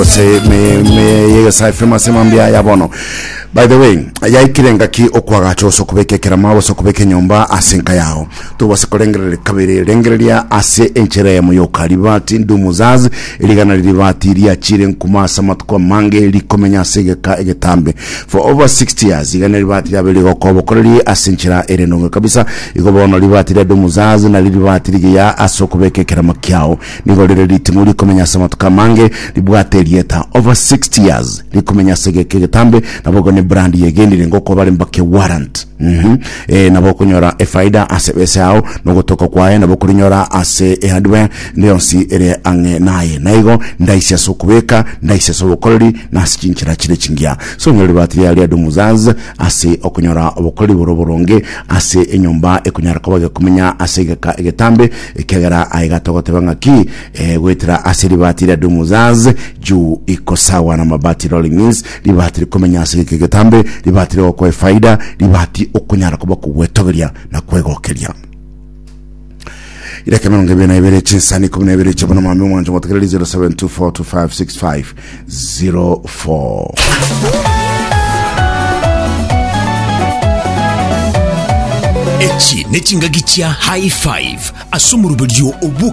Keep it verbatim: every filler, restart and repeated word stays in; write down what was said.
gose me me yegesa F M ase mambia ya bono. By the way, yaikire ngaki okwagacha ose okobeka ekerama gose okobeka enyomba ase enka yao. Tobase korengereria kabere, rengereria ase enchera eyemo yoka. Ribati Ndumuzaz, erigana ribati riachire nkuma ase amatuko amange rikomenya ase egeka egetambe. For over sixty years, igana ribati riabe rigokoba okoreri ase enchera ere nonge kabisa. Igo bono ribati ria Ndumuzaz nari ribati rigiya ase okobeka ekerama kiao. Nigo rire ritimo rikomenya ase amatuko amange ribwate erieta over sixty years rikomenya ase egeka egetambe, nabo ne brand yegenire ngoko bare mbake warrant. Mhm. Eh, nabo okonyora efaida ase bese yao nogotoka kwaye, nabo okorinyora ase ehardware ndionsi ere ang'e naye, naigo ndaisi ase okobeka, ndaisi ase obokoreri na ase chinchera chire chingiya. So onyore ribati ria ria Dumuzaz ase okonyora obokoreri boro boronge ase enyomba ekonyara koba gekomenya ase egeka egetambe, ekegera aiga togoteba ng'aki eh, gwetera ase ribati ria Dumuzaz juu iko sawa na mabati rolling mills, ribati rikomenya ase egeka egetambe, ribati rigokoa efaida, ribati okonyara koba kogwetogeria na kwegokeria. Ireke mirongo ibere na ibere chinsani ikumi na ibere chiabona mami omwancho motegereri zero seven two four two five six five zero four. Echi nechingaki chia High Five ase omoruberio obu.